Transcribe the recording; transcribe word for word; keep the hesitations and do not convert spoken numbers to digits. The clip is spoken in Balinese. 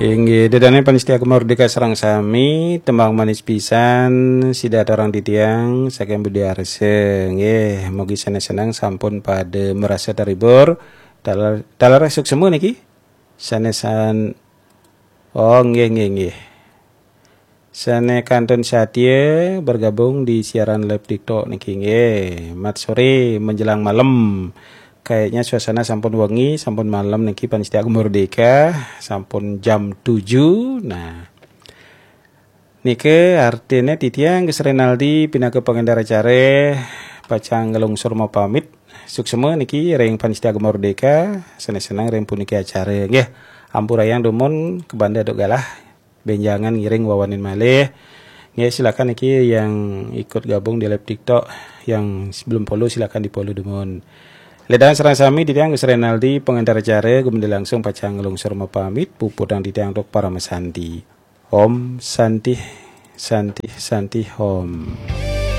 Inggih, ida dané pamiarsa Gema Merdeka sareng sami, tembang manis pisan sida aturang titiang saking Budi Arsa. Nggih, mugi sané seneng sampun pada merasa terhibur. Taler taler suksma niki. Sané san Oh, nggih nggih nggih. Sané kantun satia bergabung di siaran live TikTok niki nggih. Mat sore menjelang malam. Kayaknya suasana sampun wengi, sampun malam niki pamiarsa Gema Merdeka, sampun jam tujuh. Nah, niki artiné titiang Gus Renaldi pinaka pengendara acara pacang nglungsur mapamit. Suksma niki ring pamiarsa Gema Merdeka, sané seneng ring puniki acara nggih. Ampurayang dumun kabanda duk galah. Bénjangan ngiring wawanin malih. Nggih, silakan niki yang ikut gabung di live TikTok, yang belum follow silakan di-follow dumun. Ida dané sareng sami titiang Gus Renaldi pengendara acara gumanti langsung pacang nglungsur mapamit, puputang titiang antuk parama santi. Om Santi, Santi, Santi, Om.